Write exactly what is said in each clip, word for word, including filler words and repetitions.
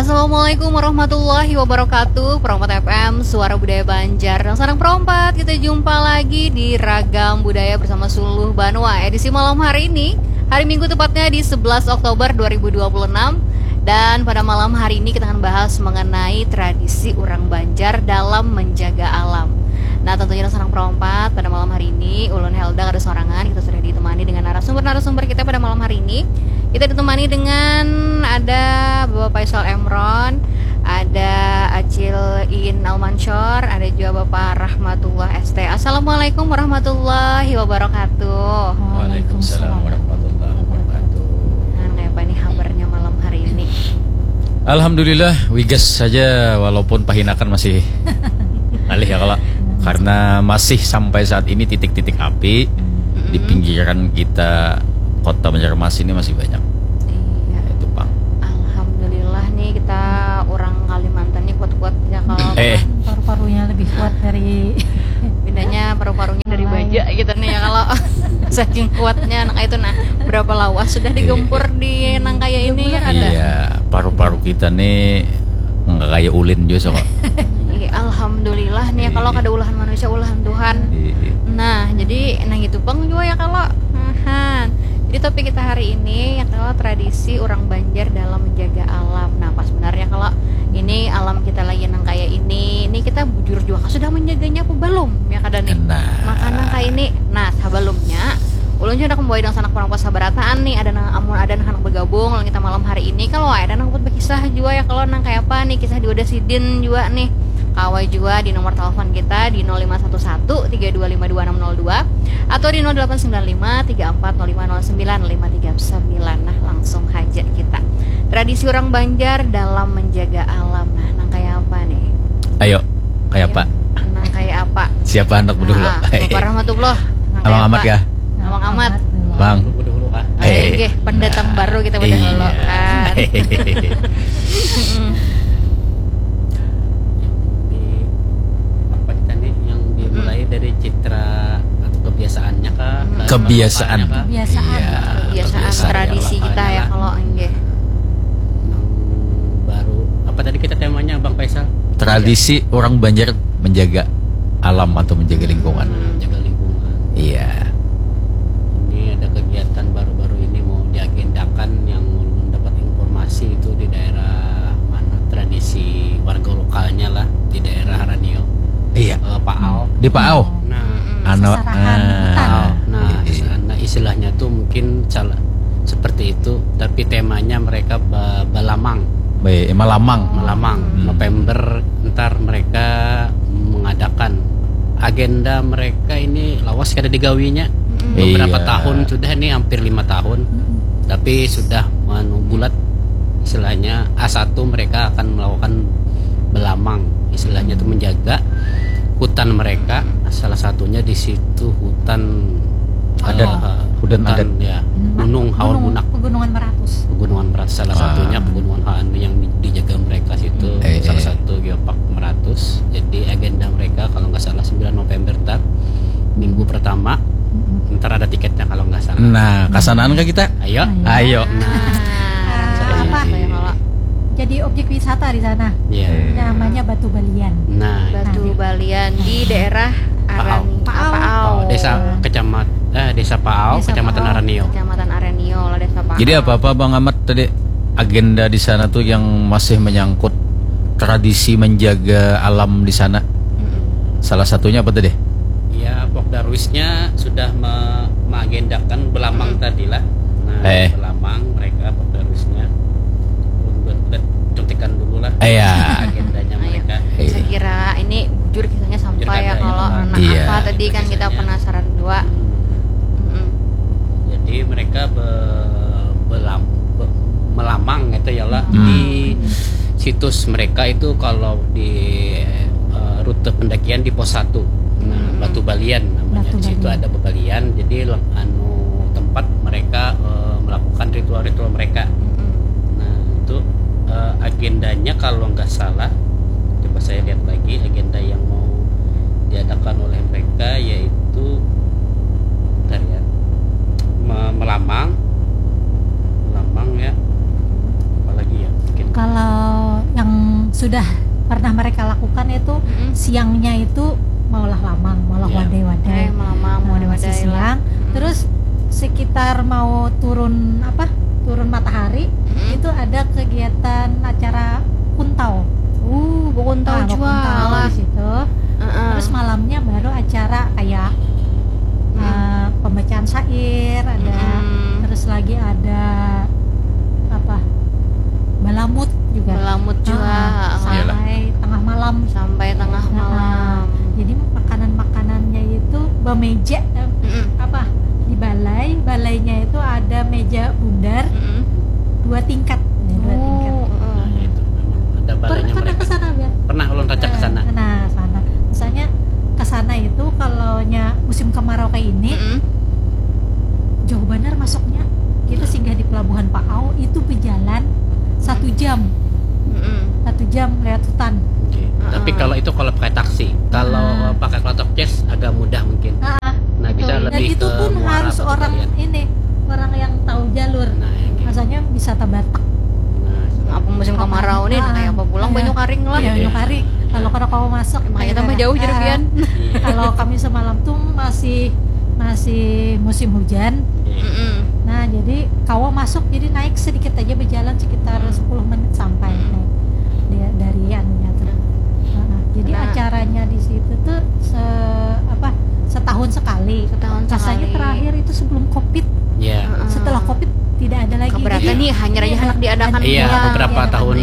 Assalamualaikum warahmatullahi wabarakatuh. Perompat F M, Suara Budaya Banjar. Nang sarang perompat, kita jumpa lagi di Ragam Budaya bersama Suluh Banua. Edisi malam hari ini, hari Minggu tepatnya di sebelas Oktober dua ribu dua puluh enam. Dan pada malam hari ini kita akan bahas mengenai tradisi orang Banjar dalam menjaga alam. Nah, tentunya nang sarang perompat, pada malam hari ini, ulun Helda kada sorangan, kita sudah ditemani dengan narasumber-narasumber kita pada malam hari ini. Kita ditemani dengan ada Bapak Faisal Emron, ada Acil Iin Almansyor, ada juga Bapak Rahmatullah S T. Assalamualaikum warahmatullahi wabarakatuh. Waalaikumsalam warahmatullahi wabarakatuh. Nah, kayak apa nih kabarnya malam hari ini? Alhamdulillah, wigas saja walaupun pahinakan masih alih ya kalau karena masih sampai saat ini titik-titik api di pinggiran kita kota Banjarmasin ini masih banyak. Iya. Itu, Bang. Alhamdulillah nih kita orang Kalimantan nih kuat-kuat ya kalau Eh. Paru-parunya lebih kuat dari bedanya paru-parunya dari Lain. Baja gitu nih ya kalau saking kuatnya anak itu. Nah, berapa lawas sudah digempur di nang kaya ini ya kada? Iya, paru-paru kita nih nggak kayak ulin juga kok. Iya, alhamdulillah nih ya kalau Iya. kada ulahan manusia, ulahan Tuhan. Iya. Nah, jadi nang itu pang juga ya kalau. Ahan. Jadi topik kita hari ini ya kalau tradisi orang Banjar dalam menjaga alam. Nah, pas benarnya kalau ini alam kita lagi nang kaya ini, ini kita bujur juga sudah menjaganya apa belum ya kada nih? Nah. Makanya kayak ini, nah, sebelumnya ulun juga membawa dong sanak perompat sabarataan nih, ada nang amun ada nang handak bergabung lawan kita malam hari ini, kalau ada nang buat berkisah juga ya kalau nang kayak apa nih kisah juga ada sidin juga nih, kawai juga di nomor telepon kita di nol lima satu satu tiga dua lima dua enam nol dua atau di nol delapan sembilan lima tiga empat nol lima nol sembilan lima tiga sembilan. Nah, langsung aja kita tradisi orang Banjar dalam menjaga alam. Nah, nang kayak apa nih? Ayo, kayak apa? Nang kayak apa? Siapa anak dulu? Ah, Bapak Rahmatullah. Nang Abang kayak Amat apa? Ya? Abang Amat. Bang. Dulu kah? Eh, pendatang baru kita pada Iya. Holo kan. Yang di apa kita nih yang dimulai dari citra atau kebiasaannya kah? Hmm. Kebiasaan. Lokalnya kah? Kebiasaan. Iya, Kebiasaan kebiasaan. Tradisi kita ya Lokalnya kalau enggak. Yang baru apa tadi kita temanya Bang Faisal? Tradisi orang Banjar menjaga alam atau menjaga lingkungan. Menjaga lingkungan. Iya. Ini ada kegiatan baru-baru ini mau diagendakan yang ulun dapat informasi itu di daerah mana tradisi warga lokalnya lah di daerah Ranio. Iya. Eh, Paau. Di Paau. Nah, Anu, Sasarahan ah, hutan. Paau. Nah, iya, iya. Nah, istilahnya tuh mungkin salah seperti itu, tapi temanya mereka ba- balamang. Baik, malamang. Melamang. Hmm. November ntar mereka mengadakan agenda mereka ini lawas kada digawinya. Beberapa Iya. Tahun sudah nih, hampir lima tahun. Tapi sudah anu bulat istilahnya A satu mereka akan melakukan belamang. Istilahnya itu menjaga hutan mereka. Salah satunya di situ hutan Adat. eh, Hutan adat. Ya, Gunung Haur Bunak. Pegunungan Meratus. Pegunungan Meratus salah Ah. Satunya Pegunungan Haur yang dijaga mereka situ. Eh, Salah eh. Satu Geopark Meratus. Jadi agenda mereka kalau nggak salah sembilan November ntar minggu pertama. Ntar ada tiketnya kalau nggak salah. Nah, kasanaan kah kita? Ayo. Ayo. Nah, Apa? Kayak kalau Jadi objek wisata di sana. Iya. Eh. Namanya Batu Balian. Nah, Batu Balian di daerah Paau. Arani, Paau. Paau. Oh, desa kecamatan eh, desa Paau, Desa Kecamatan Paau. Aranio. Kecamatan Aranio lah, Desa Paau. Jadi apa-apa Bang Amat tadi agenda di sana tuh yang masih menyangkut tradisi menjaga alam di sana. Mm-mm. Salah satunya apa tadi? Ya, Pok Darwisnya sudah me- mengagendakan belamang tadi lah. Nah, Eh. Belamang mereka Pok Darwisnya. Buat, buat contekan dulu lah. Eh, ya. Agendanya Ayo. Mereka. Iya. Saya kira ini jujur kisahnya sampai Jujur ya ada, kalau ya. anak Iya. apa tadi kan kita Kisahnya. Penasaran dua. Mm-mm. Jadi mereka be- belam be- melamang gitu ya lah Hmm. di situs mereka itu kalau di eh, rute pendakian di pos satu. Nah, Hmm. Batu Balian namanya. Batu Di situ Balian. Ada bebalian. Jadi leng- anu tempat mereka eh, melakukan ritual-ritual mereka. Mm-mm. Nah, itu eh, agendanya kalau nggak salah, coba saya lihat lagi agenda yang mau diadakan oleh mereka yaitu bentar ya. Me- melamang, melamang ya. Apalagi ya? Mungkin Kalau sudah pernah mereka lakukan itu, mm-mm, siangnya itu maulah lamang, maulah, ya, wadai-wadai. Eh, melamang, nah, wadai-wadai masih siang. Mm-mm. Terus sekitar mau turun apa, turun matahari, mm-mm, itu ada kegiatan acara kuntau. Uh, bekuntau, nah, jua bekuntau lah di situ. Uh-uh. Terus malamnya baru acara kayak, mm-mm, uh, pembacaan syair ada, mm-mm, terus lagi ada apa, balamut juga. Balamut juga. Uh-uh. Sampai tengah malam. Sampai tengah malam. Jadi makanan-makanannya itu bemeja, eh, mm-mm, apa, di balai, balainya itu ada meja bundar, mm-mm, dua tingkat. Ya, dua tingkat. Oh, mm-mm. Nah, itu memang ada balainya. Pernah mereka ke sana, Bel? Pernah ulun rancak ke sana. Eh, nah, sana. Misalnya ke sana itu kalau nya musim kemarau kayak ini, mm-mm, jauh benar masuknya. Kita singgah di pelabuhan Paau itu berjalan satu jam. Mm-mm. Satu jam lewat hutan. Oke. Tapi kalau itu kalau pakai taksi, kalau pakai klotok ces agak mudah mungkin. Ah, nah, bisa betul. Dan lebih itu ke pun muara harus atau orang kalian ini, orang yang tahu jalur. Nah, oke. Rasanya wisata Batak. Nah, apa musim kemarau nih, ah, kayak apa pulang, ah, banyu karing lah. Iya, banyu karing. Kalau kada kawa masuk, makanya tambah jauh jadi pian. Kalau kami semalam tuh masih, masih musim hujan. Mm-mm. Nah, jadi kawa masuk, jadi naik sedikit aja, berjalan sekitar, mm, sepuluh menit sampai, mm, naik dia dari anunya tuh. Heeh. Jadi, nah, acaranya di situ tuh se-, apa, setahun sekali. Setahun sekali. Rasanya terakhir itu sebelum covid. Ya. Heeh. Setelah covid tidak ada lagi. Keberatan. Jadi, nih, hanyar aja, iya, handak diadakan. Iya, pula beberapa tahun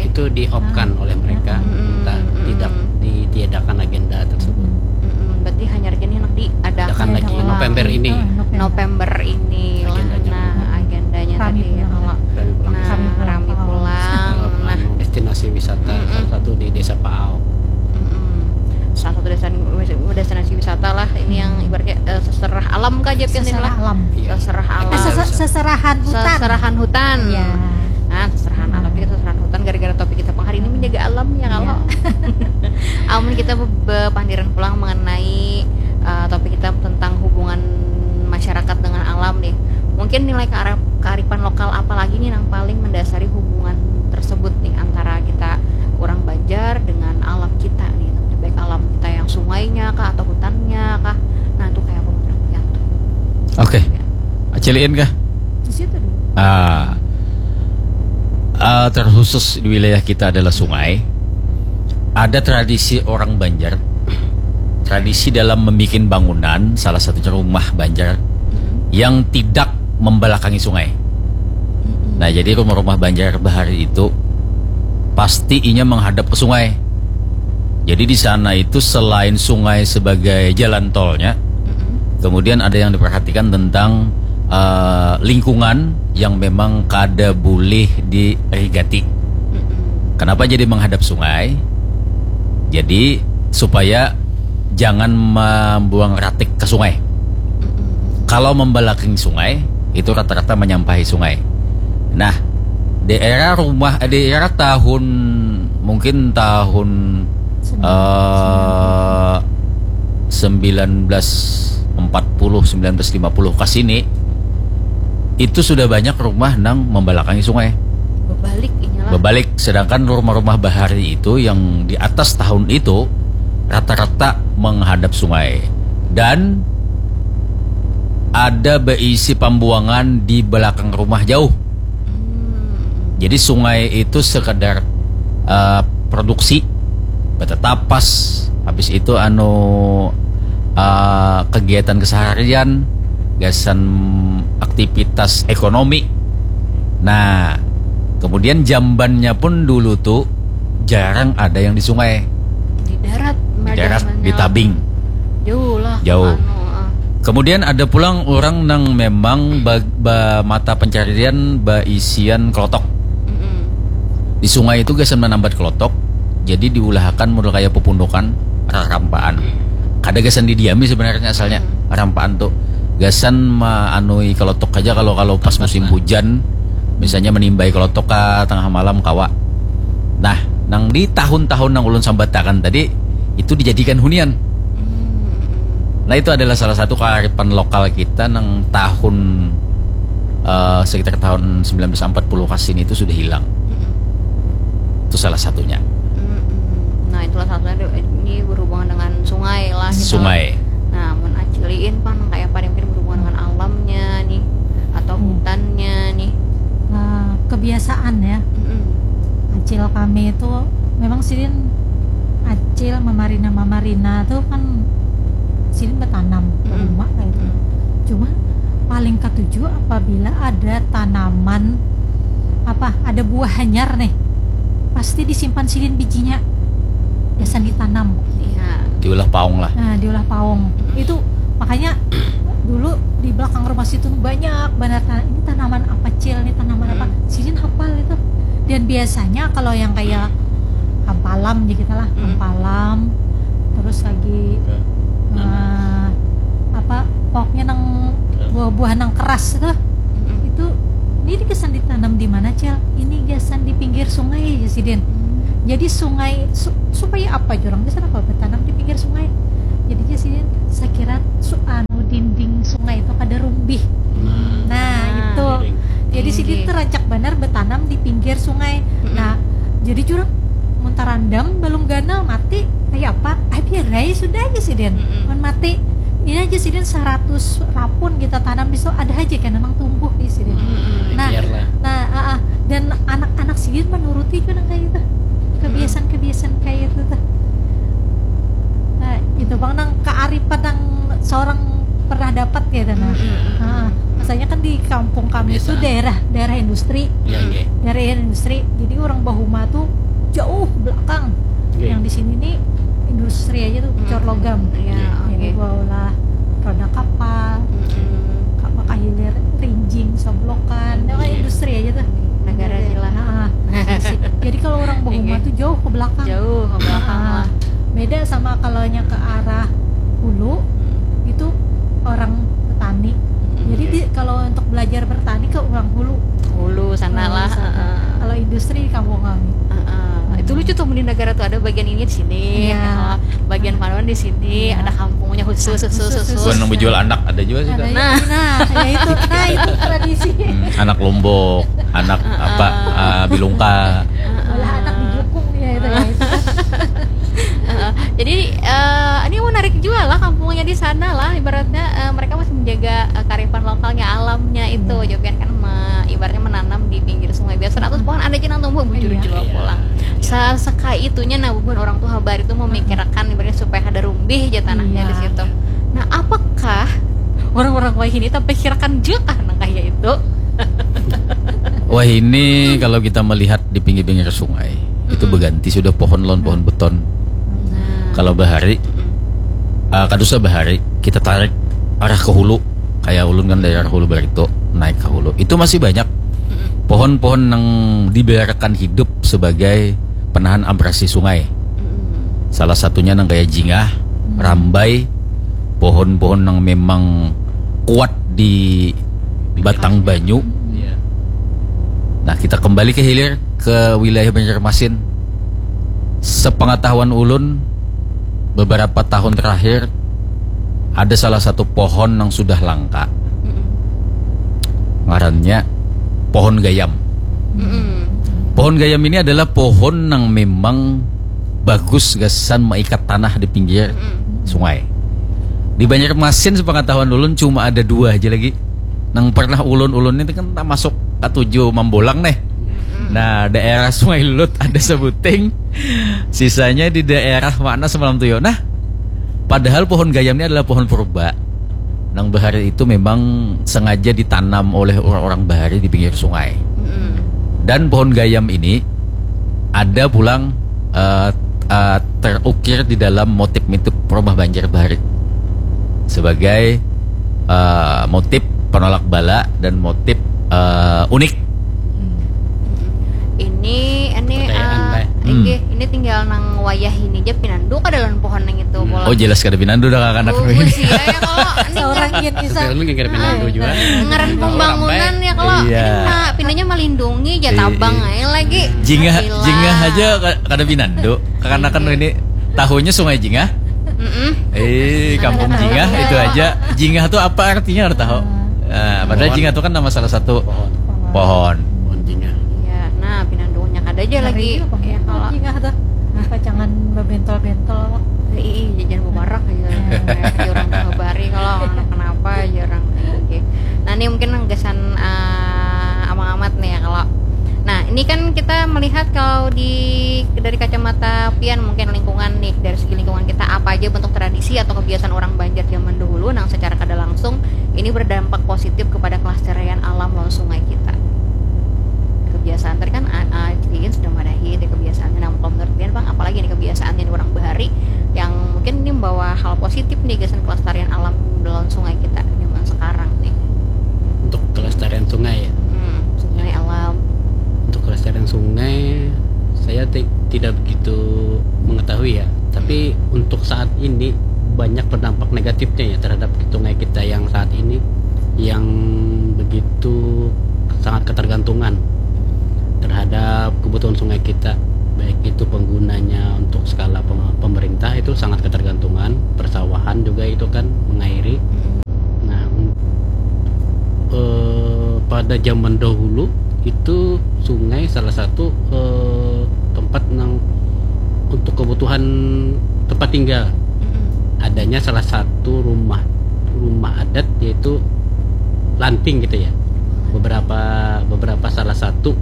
itu di-off-kan oleh mereka. Mm-mm. Entah, mm-mm, tidak ditiadakan agenda tersebut. Mm-mm. Berarti hanyar aja nih handak diadakan lagi. Adakan lagi November ini. Oh, November. November ini lah. Agendanya. Nah, agendanya tadi, ya, kalau, rami pulang. Nah, rami pulang. Rami pulang. Nah, anu, destinasi wisata salah satu di Desa Paau. Mm-mm. Salah satu desa-, destinasi wisata lah ini yang ibaratnya, eh, seserah alam kah, Jep, kan? Seserah alam. Iya. Seserah alam. Eh, sese-, seserahan hutan. Seserahan hutan. Iya. Nah, seserahan alam, kita seserahan hutan gara-gara topik kita pang hari ini menjaga alam, ya, kalau. Iya. Amun kita be-, bepandiran pulang mengenai, eh, topik kita tentang hubungan masyarakat dengan alam nih. Mungkin nilai kearif-, kearifan lokal apa lagi nih yang paling mendasari hubungan tersebut nih antara kita orang Banjar dengan alam kita nih, baik alam kita yang sungainya kah atau hutannya kah. Nah, itu kayak apa menurut pian tuh? Oke. Ya. Aciliin kah? Di situ dulu. Ah. Ah, terkhusus di wilayah kita adalah sungai. Ada tradisi orang Banjar, tradisi dalam membuat bangunan, salah satunya rumah Banjar, mm-mm, yang tidak membelakangi sungai. Mm-mm. Nah, jadi rumah-rumah Banjar bahari itu pasti inya menghadap ke sungai. Jadi di sana itu selain sungai sebagai jalan tolnya, mm-mm, kemudian ada yang diperhatikan tentang, eh, lingkungan yang memang kada boleh diirigati. Mm-mm. Kenapa jadi menghadap sungai? Jadi supaya jangan membuang ratik ke sungai. Mm-mm. Kalau membelakangi sungai, itu rata-rata menyampahi sungai. Nah, di era rumah, di era tahun, mungkin tahun, eh, sembilan belas empat puluh, sembilan belas lima puluh ke sini, itu sudah banyak rumah nang membelakangi sungai. Bebalik, inyalah. Bebalik, sedangkan rumah-rumah bahari itu yang di atas tahun itu rata-rata menghadap sungai. Dan ada beisi pembuangan di belakang rumah jauh. Hmm. Jadi sungai itu sekedar, eh, produksi, betetapas, habis itu, anu, eh, kegiatan keseharian, gasan aktivitas ekonomi. Nah, kemudian jambannya pun dulu tuh jarang ada yang di sungai. Di darat, di darat, di tabing. Jauh lah. Jauh. Anu, ah. Kemudian ada pulang orang nang memang ba-, ba-, mata pencarian baisian kelotok. Mm-mm. Di sungai itu gasan menambat kelotok, jadi diulahakan model kayak pepundukan, rarampaan. Kada gasan didiami sebenarnya asalnya, hmm, rampaan tuh. Gasan maanui kelotok aja kalau, kalau pas musim hujan, misalnya menimbai kelotok ka tengah malam kawa. Nah, nang di tahun-tahun nang ulun sambatakan tadi, itu dijadikan hunian. Hmm. Nah, itu adalah salah satu kearifan lokal kita nang tahun, eh, sekitar tahun sembilan belas empat puluh ke sini itu sudah hilang. Hmm. Itu salah satunya. Hmm. salah satunya ada, ini berhubungan dengan sungai lah gitu. Sungai. Nah, mun aciliin pang nang kaya apa nih, mungkin berhubungan dengan alamnya nih atau Hmm. hutannya nih. Nah, kebiasaan ya. Mm-mm. Acil kami itu memang sidin acil mamarina-mamarina tuh kan sidin bertanam Mm-mm. rumah kayak itu. Mm-mm. Cuma paling katuju apabila ada tanaman apa ada buah hanyar nih pasti disimpan sidin bijinya biasa ditanam. Iya. Diulah paung lah. Nah, diulah paung. Itu makanya dulu di belakang rumah situ tuh banyak banget tan- ini tanaman apa cil, ini tanaman apa. Hmm. Sidin hafal itu. Dan biasanya kalau yang kayak hampalam ya kita lah, Hmm. hampalam. Terus lagi eh, apa pokoknya nang buah-buahan nang keras itu. Mm-mm. Itu ini gasan ditanam di mana, Cil? Ini gasan di pinggir sungai ya sidin. Jadi sungai su- supaya apa jurang di sana apa bertanam di pinggir sungai. Jadinya sidin sakira su anu dinding sungai itu kada rumbih. Nah, Ah, itu. Jadi sidin Inggih. tuh rancak banar bertanam di pinggir sungai. Mm-mm. Nah, jadi jurang mun tarandam balum ganal mati kayak apa? Ah, biar aja sudah aja sidin. Mm-mm. Mun mati ini aja sidin seratus rapun kita tanam di situ ada aja kan memang tumbuh di sidin. Mm-mm. Nah, Biarlah. nah, ah, ah. Dan anak-anak sidin menuruti juga nang kayak itu. Kebiasaan-kebiasaan kayak itu tuh. Nah, itu bang nang kearifan yang seorang pernah dapat ya nah. Mm-mm. Ah, masalahnya kan di kampung kami itu Kebiasaan. daerah daerah industri. Ya, oke. Daerah industri. Jadi orang bahuma tuh jauh belakang. Oke. Yang di sini nih industri aja tuh Mm. cor logam. Iya, Iya. oke. Jadi gua olah roda kapal, Mm-mm. ka- makahilir rinjing, sablokan, itu kan Iya. industri aja tuh. Negara Jadi, kilat. nah, jadi kalau orang bahuma Iya. tuh jauh ke belakang. Jauh ke belakang Ah, lah. Beda sama kalau nya ke arah hulu itu orang petani. Jadi Iya. di, kalau untuk belajar bertani ke orang hulu. Hulu sana Hulu lah. sana. Heeh. Kalau industri di kampung kami. Heeh. Itu lucu tuh di negara tuh ada bagian ini di sini, Iya. oh, bagian panuan di sini, Ada kampungnya khusus khusus khusus. Bukan nang menjual anak ada juga sih. Ada Kak. ya, nah, ya itu, nah itu tradisi. Hmm, anak lombok, anak apa ah, bilungka. Olah anak di jukung ya itu ya. Itu. Heeh. Jadi eh, ini menarik juga lah kampungnya di sana lah ibaratnya eh, mereka masih menjaga eh, kearifan lokalnya alamnya itu juga kan me- ibaratnya menanam di pinggir sungai biasa seratus pohon ada aja nang tumbuh bujur Iya. juga Iya. Pulang. Sa sekai itunya nah bubuhan orang tuh habar itu memikirkan ibaratnya supaya ada rumbih aja tanahnya Iya. Di situ. Nah, apakah orang-orang wahini tapi kirakan juga nang kayak itu? Wah ini kalau kita melihat di pinggir-pinggir sungai itu Mm-mm. berganti sudah pohon lawan pohon beton. Nah. Kalau bahari, Mm-mm. ah, kada usah bahari, kita tarik arah ke hulu. Kayak ulun kan dari arah hulu Barito naik ke hulu. Itu masih banyak Mm-mm. pohon-pohon yang dibiarkan hidup sebagai penahan abrasi sungai. Mm-mm. Salah satunya nang kayak jingah, rambai, pohon-pohon yang memang kuat di batang banyu. Iya. Nah, kita kembali ke hilir ke wilayah Banjarmasin. Sepengetahuan ulun, beberapa tahun terakhir ada salah satu pohon yang sudah langka. Mm-mm. Ngarannya pohon gayam. Mm-mm. Pohon gayam ini adalah pohon yang memang bagus gasan maikat tanah di pinggir Mm-mm. sungai. Di Banjarmasin sepengetahuan ulun cuma ada dua aja lagi. Nang pernah ulun-ulun ini kan tak masuk katuju mambolang nih. Nah, daerah Sungai Lut ada sebuting. Sisanya di daerah mana semalam tuh yo. Nah, padahal pohon gayam ini adalah pohon purba. Nang bahari itu memang sengaja ditanam oleh orang-orang bahari di pinggir sungai. Mm-mm. Dan pohon gayam ini ada pulang eh, eh, terukir di dalam motif-motif rumah banjar bahari sebagai eh, motif penolak bala dan motif eh, unik. Ini ini Percayaan, eh, Teh. Hmm. inggih, ini tinggal nang wayah ini aja pinandu kada lawan pohon nang itu Hmm. Pulang. Oh jelas kada pinandu dah kakak-anak Oh, ini. Sih ya kalau ini Seorang ngaran- yang bisa. Sebenarnya mungkin kada pinandu juga. ngaran Orang pembangunan baik. Ya kalau Iya. ini mah pinanya melindungi aja Iya. Tabang aja lagi. Jingah, Gila. Jingah aja ka- kada pinandu. Kakak-anak Iya. Ini tahunya Sungai Jingah. Mm-mm. Eh, kampung Ada Jingah tahu. Itu aja. Jingah tuh apa artinya harus tahu. Nah, padahal Pohon. Jingah tuh kan nama salah satu Pohon. Pohon. Pohon jingah. Iya, nah pinandunya kada aja lagi. Ngeri juga, Bang, ya, Ya, kalau kalau jingah tuh. Pacangan babentol-bentol. Ih, jangan babarak aja. Aja orang habari kalau anak kenapa aja orang. Oke. Nah, ini mungkin gasan uh, Amang Amat nih ya kalau. Nah, ini kan kita melihat kalau di dari kacamata pian mungkin lingkungan nih, dari segi lingkungan kita apa aja bentuk tradisi atau kebiasaan orang Banjar zaman dahulu nang secara kada langsung ini berdampak positif kepada kelestarian alam lawan sungai kita. Kebiasaan tadi kan uh, uh, sudah madahi dari kebiasaan. Nah, kalau menurut pian Bang, apalagi nih kebiasaan yang orang bahari yang mungkin ini membawa hal positif nih gasan kelestarian alam lawan sungai kita zaman sekarang nih. Untuk kelestarian sungai ya. Hmm, sungai alam. Untuk kelestarian sungai saya ti- tidak begitu mengetahui ya. Tapi untuk saat ini banyak berdampak negatifnya ya terhadap sungai kita yang saat ini yang begitu sangat ketergantungan terhadap kebutuhan sungai kita, baik itu penggunanya untuk skala pem- pemerintah itu sangat ketergantungan, persawahan juga itu kan mengairi. Nah, un- eh, pada zaman dahulu itu sungai salah satu eh, tempat nang untuk kebutuhan tempat tinggal. Adanya salah satu rumah rumah adat yaitu lanting gitu ya. Beberapa beberapa salah satu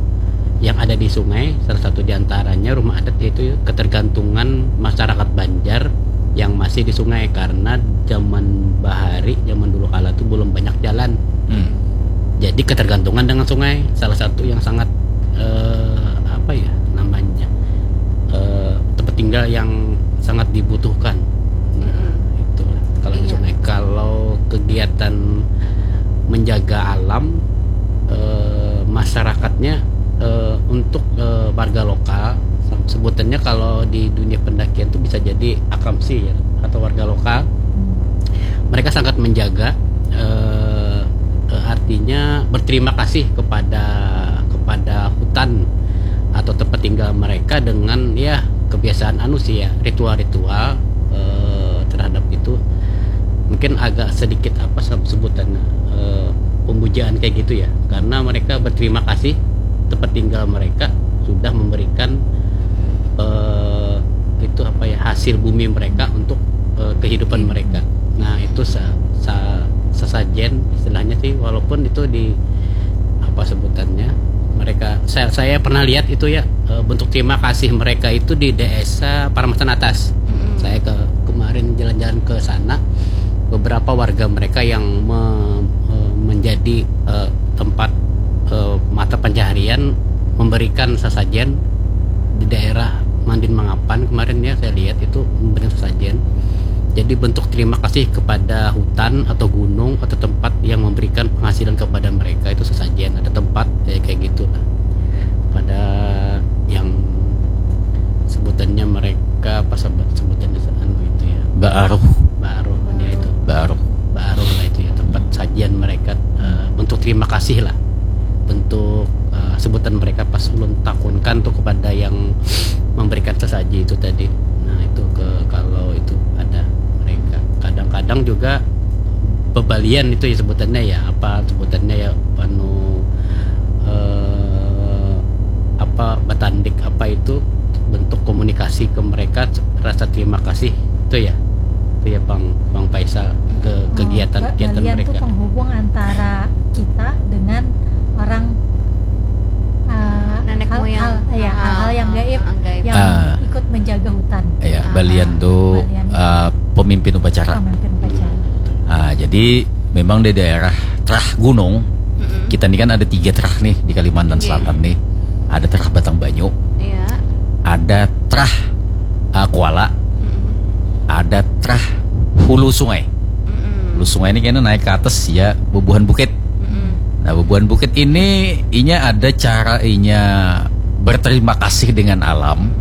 yang ada di sungai, salah satu diantaranya rumah adat, yaitu ketergantungan masyarakat Banjar yang masih di sungai karena zaman bahari, zaman dulu kala tuh belum banyak jalan. Hmm. Jadi ketergantungan dengan sungai salah satu yang sangat eh, apa ya namanya eh, tempat tinggal yang sangat dibutuhkan. Nah, itu kalau di Iya. Sungai. Kalau kegiatan menjaga alam eh, masyarakatnya eh, untuk eh, warga lokal, sebutannya kalau di dunia pendakian itu bisa jadi akamsi ya, atau warga lokal. Mereka sangat menjaga eh, eh, artinya berterima kasih kepada kepada hutan atau tempat tinggal mereka dengan ya kebiasaan anu sih ya, ritual-ritual eh, terhadap itu. Mungkin agak sedikit apa se- sebutannya eh, pemujaan kayak gitu ya, karena mereka berterima kasih tempat tinggal mereka sudah memberikan eh, itu apa ya, hasil bumi mereka untuk eh, kehidupan mereka. Nah, itu sa- sa- sesajen istilahnya sih, walaupun itu di apa sebutannya, mereka saya saya pernah lihat itu ya eh, bentuk terima kasih mereka itu di desa Paramatan Atas. Saya ke kemarin jalan-jalan ke sana, beberapa warga mereka yang me- eh, menjadi eh, tempat eh, mata pencaharian memberikan sesajen di daerah Mandin Mangapan kemarin ya, saya lihat itu memberikan sesajen. Jadi bentuk terima kasih kepada hutan atau gunung atau tempat yang memberikan penghasilan kepada mereka itu sesajen, ada tempat ya kayak gitu lah. Pada yang sebutannya mereka apa sebut- sebutannya anu itu ya, Baaruh. Baaruh ya itu. Baaruh. Baaruh lah itu ya, tempat sajian mereka eh, bentuk terima kasih lah, bentuk eh, sebutan mereka pas ulun takunkan tuh kepada yang memberikan sesaji itu tadi. Nah, itu ke kalau itu ada mereka kadang-kadang juga bebalian itu ya sebutannya ya, apa sebutannya ya, anu eh, apa batandik apa itu, bentuk komunikasi ke mereka, rasa terima kasih itu ya, itu ya Bang Bang Faisal ke kegiatan-kegiatan Balian mereka. Tuh penghubung antara kita dengan orang uh, Nenek hal, moyang. Hal, ya, Ah, hal-hal yang gaib ah, gaib. Yang Ah. Ikut menjaga hutan. Ya, balian tuh Balian. Uh, pemimpin upacara. Pemimpin upacara. Ah, jadi memang di daerah Trah Gunung, kita ini kan ada tiga trah nih di Kalimantan Iya. Selatan nih. Ada Trah Batang Banyu, Iya. ada Trah uh, Kuala, Mm-mm. ada Trah Hulu Sungai. Mm-mm. Hulu Sungai ini kayaknya naik ke atas ya, bubuhan bukit. Mm-mm. Nah, bubuhan bukit ini inya ada cara inya berterima kasih dengan alam.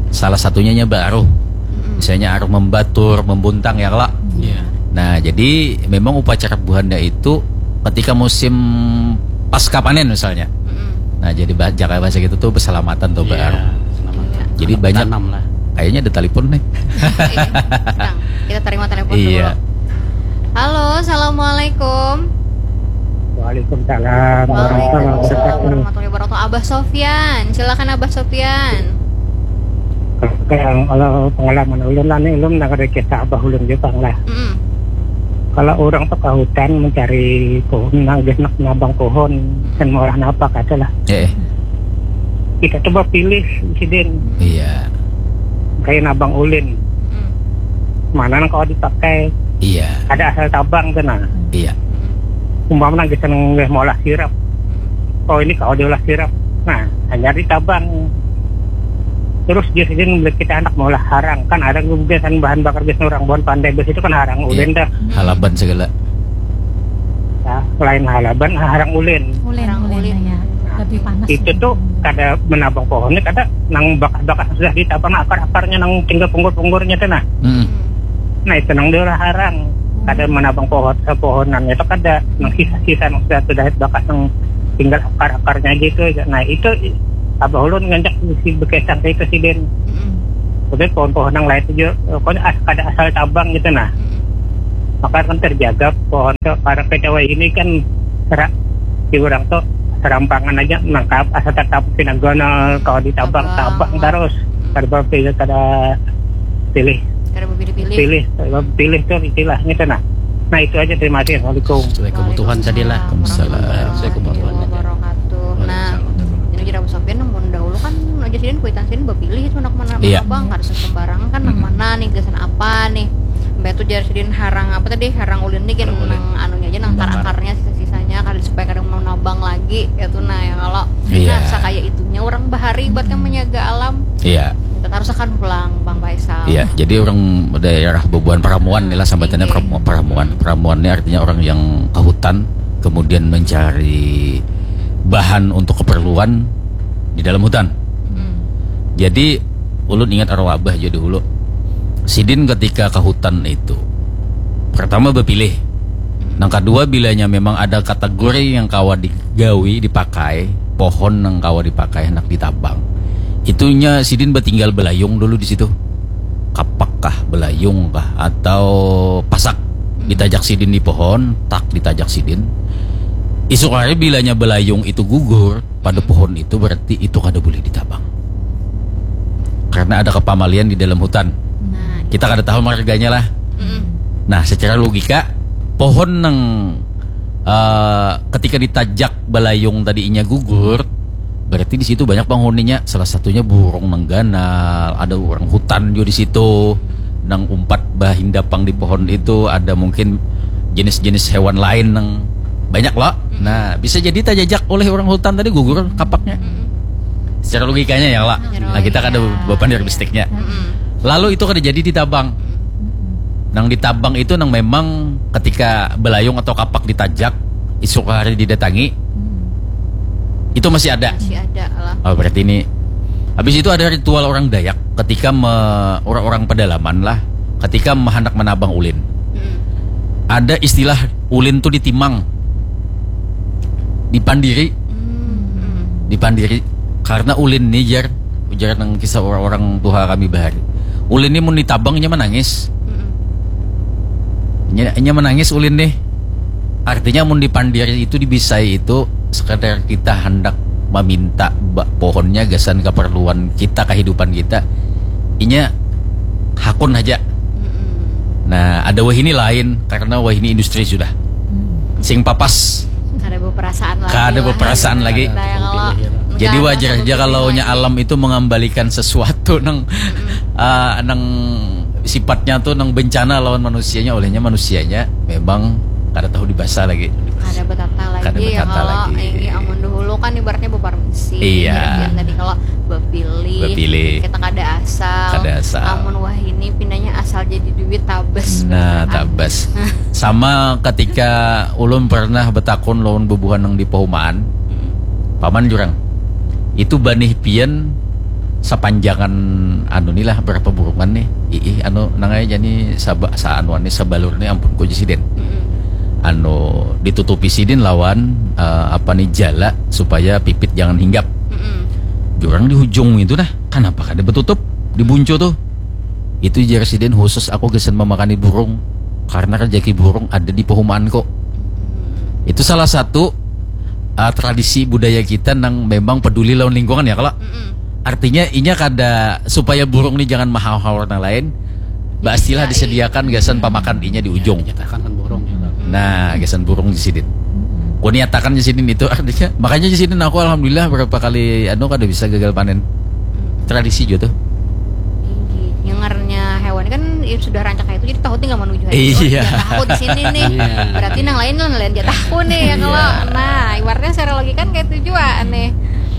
Salah satunya inya baaruh. Misalnya aruh membatur, membuntang ya kelak. Iya. Nah, jadi memang upacara buhannya itu ketika musim pasca panen misalnya. Mm-mm. Nah, jadi bah- jaga bahasa gitu tuh berselamatan tuh Iya, baaruh. Selamat. Iya. Jadi banyak Tanam lah. Kayaknya ada telepon nih. Iya, sedang. Kita terima telepon Iya. Dulu. Halo, assalamualaikum. Waalaikumsalam warahmatullahi Waalaikumsalam wabarakatuh. Warahmatullahi wabarakatuh. Abah Sofyan, silakan Abah Sofyan. Kalau, kalau pengalaman ulun lah ni, ulun nang ada kisah abah ulun juga lah. Mm-mm. Kalau orang tu ke hutan mencari pohon, nang nak nabang pohon, dan mau lah napa kata lah. Eh, eh. Kita tu bapilih sidin. Iya. Kayak nabang ulin. Mm. Mana nang kalau dipakai? Iya. Ada asal tabang tu nah. Iya. Umpama nang gasan nggak mau lah sirap. Oh, ini kalau diolah sirap. Nah, hanya ditabang. Terus dia sini membeli kita anak mau lah harang. Kan ada gasan bahan bakar gasan orang buhan pandai besi itu kan harang ulin dah. Halaban segala. Nah, lain halaban, harang ulin. Ulin, Harang ulin, ulin. Ya. Lebih panas. Itu tuh kada menabang pohonnya, kada nang bakas-bakas sudah ditabang akar-akarnya nang tinggal punggur-punggurnya tuh nah. Hmm. Nah, itu nang diolah harang. Kada menabang pohon, sepohonan itu kada, nang sisa-sisa nang sudah, sudah bakas nang tinggal akar-akarnya aja itu aja. Nah, itu i-, abah ulun ngajak si bekesang itu sidin. Mm-mm. Udah pohon-pohon yang lain aja, pokoknya as-, kada asal tabang gitu nah. Mm-mm. Maka kan terjaga pohon tuh, karena P T W ini kan serak di orang tuh serampangan aja nangkap asal tetap pinagonal kalau ditabang tabang terus. Mm-mm. Kada pilih, kada pilih. Kada pilih-pilih. Pilih, pilih tuh istilahnya tuh nah. Nah, itu aja, terima kasih. Assalamualaikum. Assalamualaikum. Tuhan tadi lah. Waalaikumsalam. Assalamualaikum warahmatullahi wabarakatuh. Nah, waalaikumsalam. Ini jadi Abu Sofian namun dahulu kan aja sidin kuitan sidin bapilih itu anak mana. Iya. Abang kada sembarangan kan nang mana nih gasan apa nih. Mbak tuh jar sidin harang apa tadi, harang ulin nih kan nang anunya aja nang akar-akarnya sisa-sisanya kada supaya kada mau nabang lagi itu nah ya kalau. Iya. Nah, sakaya itunya orang bahari buat kan menjaga alam. Iya. Kita tarusakan pulang, Bang Faisal. Iya, jadi orang daerah Bubuhan Paramuan nih lah, sambatannya Paramu-, Paramuan. Paramuan ini artinya orang yang ke hutan, kemudian mencari bahan untuk keperluan di dalam hutan. Hmm. Jadi, ulun ingat arwah abah aja dahulu. Sidin ketika ke hutan itu, pertama bapilih. Nang kedua, bilanya memang ada kategori yang kawa digawi, dipakai, pohon nang kawa dipakai, hendak ditabang. Itunya sidin batinggal belayung dulu di situ. Kapak kah, belayung kah, atau pasak. Ditajak sidin di pohon, tak ditajak sidin. Isuk hari bilanya belayung itu gugur pada pohon itu, berarti itu kada boleh ditabang. Karena ada kepamalian di dalam hutan. Nah, kita kada tahu marganya lah. Mm-mm. Nah, secara logika, pohon nang, eh, ketika ditajak belayung tadi inya gugur, berarti di situ banyak penghuninya. Salah satunya burung nang ganal, ada orang hutan juga di situ, nang umpat bahindapang di pohon itu, ada mungkin jenis-jenis hewan lain nang banyak loh. Mm-mm. Nah, bisa jadi tajajak oleh orang hutan tadi gugur kapaknya. Mm-mm. Secara logikanya ya lah. Secara logika. Nah, kita kada bepander bistiknya. Mm-mm. Lalu itu kada jadi ditabang. Nang ditabang itu nang memang ketika belayung atau kapak ditajak, isuk hari didatangi, hmm, itu masih ada. Masih ada lah. Oh, berarti ini. Habis itu ada ritual orang Dayak ketika me-, orang-orang pedalaman lah, ketika me-, hendak menabang ulin. Hmm. Ada istilah ulin tuh ditimang, dipandiri. Hmm, hmm. Dipandiri. Karena ulin nih, jar, ujar nang kisah orang-orang tuha kami bahari. Ulin nih mun ditabang, inya menangis. Mm-mm. Inya, inya menangis ulin nih. Artinya mun dipandiri itu, dibisai itu, sekadar kita hendak meminta ba-, pohonnya gasan keperluan kita, kehidupan kita, inya hakun aja. Mm-mm. Nah, ada wahini lain, karena wahini industri sudah. Hmm. Sing papas. Kada beperasaan lagi. Kada lah, beperasaan lagi. Kita yang kalau jadi wajar aja kalau nya alam itu mengembalikan sesuatu nang, mm-mm, ah, nang sifatnya tuh nang bencana lawan manusianya, olehnya manusianya memang kada tahu dibasa lagi. Kada betata lagi. Kada ya, betata kalau lagi. Ini amun dahulu kan ibaratnya bepermisi. Iya. Jadi tadi kalau bapilih, bapilih, kita kada asal. Kada asal. Amun wahini pindahnya asal jadi duit tabes. Nah, beneran. Tabes. Sama ketika ulun pernah betakun lawan bubuhan nang di Pahumaan. Hmm. Paman jurang. Itu banih pian sapanjangan anu ni lah, berapa burungan nih. Iih, anu, nang ai jani saba-, saanuan nih, sabalur nih, ampun ku ja sidin. Mm-mm. Anu, ditutupi sidin lawan, eh, apa nih, jala supaya pipit jangan hinggap. Mm-mm. Jurang di hujung itu nah, kanapa kada betutup di buncu tuh? Itu jar sidin khusus aku gasan memakani burung, karena rejeki burung ada di pahumaanku. Mm-mm. Itu salah satu, eh, tradisi budaya kita nang memang peduli lawan lingkungan ya, kalau. Mm-mm. Artinya inya kada, supaya burung ni jangan mahaur-haur nang lain, baistilah disediakan gasan pamakan inya di ujung. Jatahan kan burung ya. Nah, gasan burung di sidin. Ku niatakan di sidin itu artinya. Makanya di sidin aku alhamdulillah berapa kali anu kada bisa gagal panen. Tradisi juga tuh. Yang ngarannya hewan kan ya sudah rancak itu jadi tahu tinggal menuju aja. Iya. Oh, tahu di sini nih. Iya. Berarti nang lain nang lain dia tahu nih ya kalau iya. Nah, ibaratnya secara logika kan kayak itu juga nih.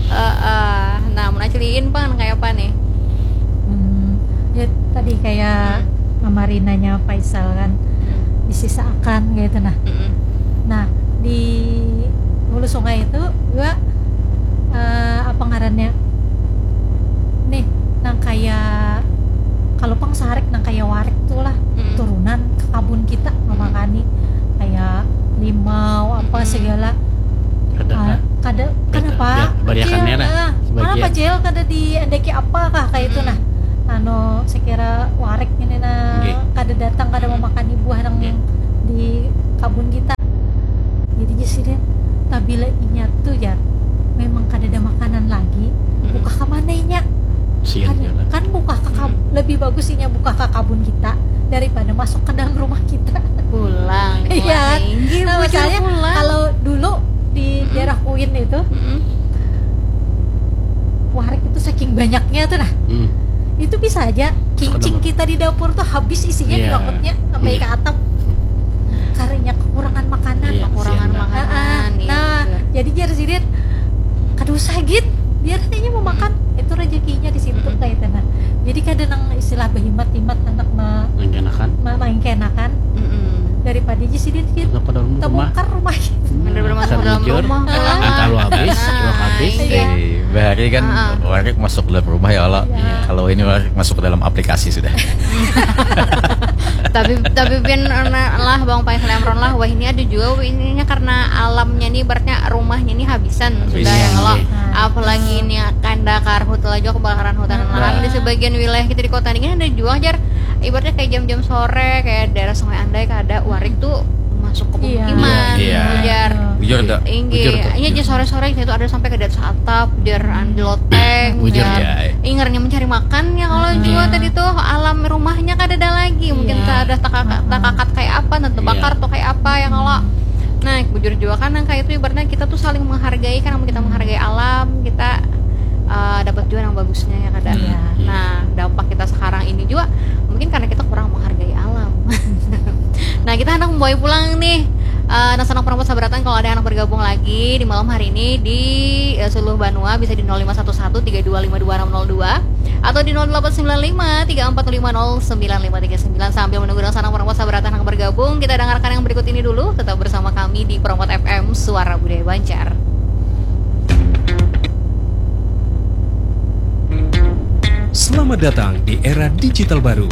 Uh, uh, nah, mun aciliin pang kayak apa nih? Hmm, ya tadi kayak hmm. Mamarinanya Faisal kan hmm. Disisaakan kayak itu nah. Hmm. Nah, di hulu sungai itu juga uh, apa ngarannya? Nih, nang kayak kalau pang sarik nang kayak warik tuh lah hmm. Turunan ke kabun kita hmm. Memakani kayak limau apa hmm. Segala kada uh, kada kenapa ya, bariakannya lah uh, kenapa jel kada diendeki apa kah kayak itu nah anu sekira warik ini nah kada datang kada memakani buah nang di kabun kita jadi jadi sih deh tabila inya tuh ya memang kada ada makanan lagi buka ke mana inya kan, kan buka ke kabun lebih bagus inya buka ke kabun kita daripada masuk ke dalam rumah kita pulang iya nah, masalahnya kalau dulu di hmm. Daerah Kuin itu hmm. Warik itu saking banyaknya tuh nah hmm. Itu bisa aja kincing kita di dapur tuh habis isinya yeah. Di dapurnya sampai yeah. Ke atap karena kekurangan makanan yeah, kekurangan makanan nah, iya, nah jadi jar sirit kada usah git biar hanya mau makan hmm. Itu rezekinya di situ hmm. Kayak itu nah jadi kada nang istilah berhimat-himat anak ma main kenakan hmm. Daripada aja sirit gitu tabongkar rumah Bener-bener masuk dalam rumah pulang. Antar lu habis, lu habis. Iya. Eh, bahari kan uh-uh. Warik masuk dalam rumah ya Allah. Iya. Kalau ini Warik masuk ke dalam aplikasi sudah. tapi tapi pian lah bang paling selemron lah wah ini ada juga ininya karena alamnya nih ibaratnya rumahnya nih habisan Habis. sudah ya kalau iya. Apalagi ini kanda karhut lagi kebakaran hutan nah. Lahan di sebagian wilayah kita di kota ini ada juga jar ibaratnya kayak jam-jam sore kayak daerah Sungai Andai ada warik tuh masuk ke pemukiman iya. Iya. Ujar ujar tak ujar tak ini aja sore-sore itu ada sampai ke desa atap ujar andi loteng ujar ya ingernya mencari makan ya kalau hmm. Juga tadi tuh alam rumahnya kada ada lagi mungkin iya. Tak ada takakat kayak apa nanti bakar tuh kayak apa ya kalau nah bujur juga kan yang kayak itu ibaratnya kita tuh saling menghargai kan kita menghargai alam kita uh, dapat juga yang bagusnya ya kada iya. Nah dampak kita sekarang ini juga mungkin karena kita kurang menghargai alam Nah kita hendak membawa pulang nih uh, Nah senang perempuan sabratan kalau ada yang bergabung lagi di malam hari ini di uh, seluruh Banua bisa di nol lima satu satu tiga dua lima dua enam nol dua atau di nol delapan sembilan lima tiga empat lima nol sembilan lima tiga sembilan sambil menunggu dengan senang perempuan sabratan yang bergabung kita dengarkan yang berikut ini dulu tetap bersama kami di Peromot F M Suara Budaya Banjar. Selamat datang di era digital baru.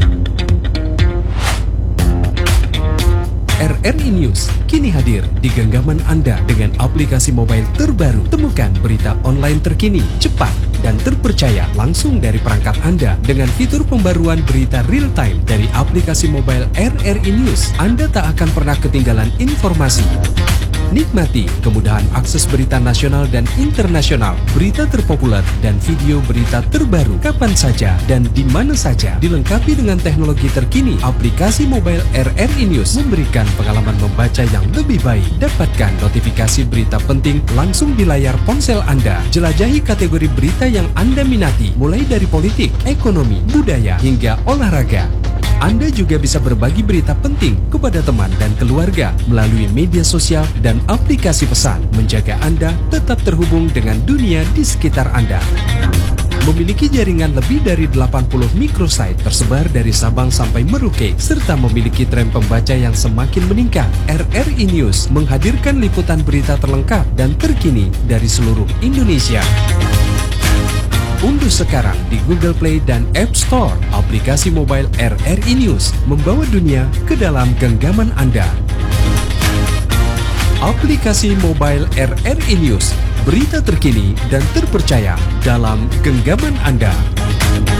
R R I News kini hadir di genggaman Anda dengan aplikasi mobile terbaru. Temukan berita online terkini, cepat, dan terpercaya langsung dari perangkat Anda dengan fitur pembaruan berita real time dari aplikasi mobile R R I News. Anda tak akan pernah ketinggalan informasi. Nikmati kemudahan akses berita nasional dan internasional, berita terpopuler, dan video berita terbaru kapan saja dan di mana saja. Dilengkapi dengan teknologi terkini, aplikasi mobile R R I News memberikan pengalaman membaca yang lebih baik. Dapatkan notifikasi berita penting langsung di layar ponsel Anda. Jelajahi kategori berita yang Anda minati, mulai dari politik, ekonomi, budaya, hingga olahraga. Anda juga bisa berbagi berita penting kepada teman dan keluarga melalui media sosial dan aplikasi pesan, menjaga Anda tetap terhubung dengan dunia di sekitar Anda. Memiliki jaringan lebih dari delapan puluh microsite tersebar dari Sabang sampai Merauke, serta memiliki tren pembaca yang semakin meningkat. R R I News menghadirkan liputan berita terlengkap dan terkini dari seluruh Indonesia. Unduh sekarang di Google Play dan App Store aplikasi mobile R R I News, membawa dunia ke dalam genggaman Anda. Aplikasi mobile R R I News, berita terkini dan terpercaya dalam genggaman Anda.